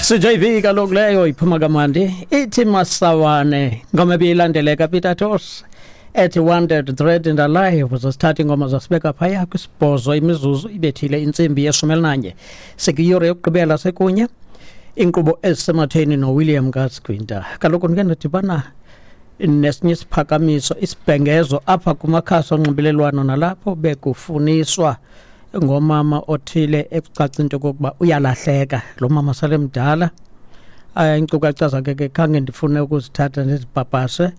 CJV kaloku leyo iphuma kamandi ithi masawane ngoma ebiyilandeleka Peter Tosh ethi wanted dread and alive. Zosithatha ingoma zasibeka phaya kwisibhozo imizuzu ibethile intsimbi yeshumi elinanye, sikuyure yokugqibela sekunye inkqubo ezisematheni noWilliam Gasquinta. Kaloku ndike ndadibana nesinye isiphakamiso, isibhengezo apha kumakhasi onxibelelwano nalapho bekufuniswa ngomama othile ekucaca into yokokuba uyalahleka. Lo mama sale mdala, iinkcukacha zakhe ke khange ndifune ukuzithatha ndizipapashe,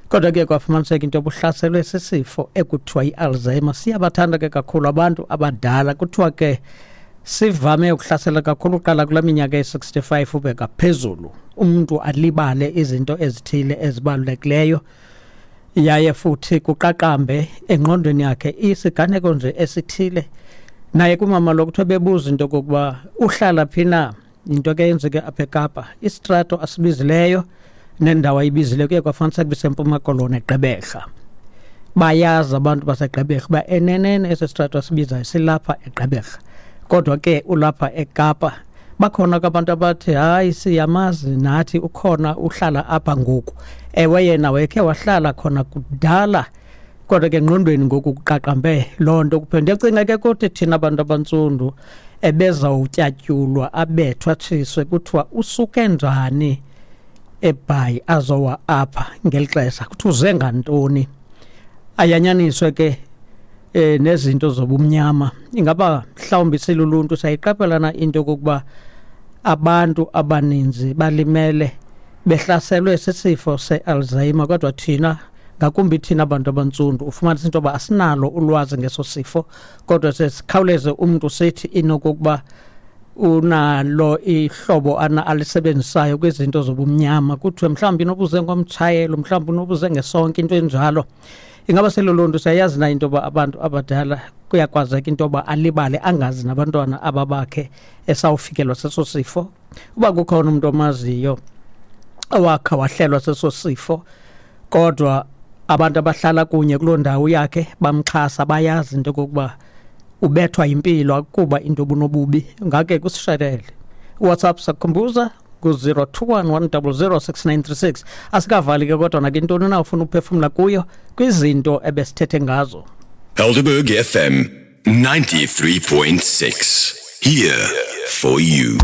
kodwa ke kwafumaniseka into yobuhlaselwe sisifo ekuthiwa yi-Alzheimer. Siyabathanda ke kakhulu abantu abadala, kuthiwa ke sivame ukuhlasela kakhulu uqala kula minyaka ye-65 ube ngaphezulu, umntu alibale izinto ezithile ezibalulekileyo, yaye futhi kuqaqambe engqondweni yakhe isiganeko nje esithile. Naye kumama lo kuthiwa bebuza into yokokuba uhlala phi na, into ke yenzeke apha eKapa, isitrato asibizileyo nendawo ayibizileyo kuye kwafumaniseka bisempuma Koloni eGqeberha. Bayazi abantu baseGqeberha uba enenene esi sitrato asibizayo silapha eGqeberha, kodwa ke ulapha eKapa. Bakhona ke abantu abathi hayi, siyamazi nathi, ukhona uhlala apha ngoku. Ewe, yena wayekhe wahlala khona kudala, kodwa ke engqondweni ngoku kuqaqambe loo nto kuphela. Ndiyacinga ke kuthi thina abantu abantsundu ebezawutyatyulwa abethwa atshiswe kuthiwa usuke njani eBhayi azowa apha ngeli xesha, kuthiwa uze ngantoni. Ayanyaniswe ke nezinto zobumnyama. Ingaba mhlawumbi siluluntu siyayiqaphela na into yokokuba abantu abaninzi balimele behlaselwe sisifo se-Alzheimer, kodwa thina, ngakumbi thina abantu abantsundu, ufumanisa into yoba asinalo ulwazi ngeso sifo, kodwa sesikhawuleze umntu sithi inokokuba unalo ihlobo ana alisebenzisayo kwizinto zobumnyama, kuthiwe mhlawumbi inobuze ngomtshayelo, mhlawumbi unobuze ngesonke, into enjalo. Ingaba seloluntu siyayazi na into yoba abantu abadala kuyakwazeka into yoba alibale, angazi nabantwana aba bakhe esawufikelwa seso sifo? Uba kukhona umntu omaziyo owakha wahlelwa seso sifo, kodwa abantu abahlala kunye kuloo ndawo yakhe bamxhasa, bayazi into yokokuba ubethwa yimpilo akuba into obunobubi, ngake kusishelele WhatsApp sakukhumbuza ku-021 100 6936. Asikavali ke, kodwa nakintoni na ufuna uphefumla kuyo kwizinto ebesithethe ngazo. Helderberg FM 93.6. Here for you.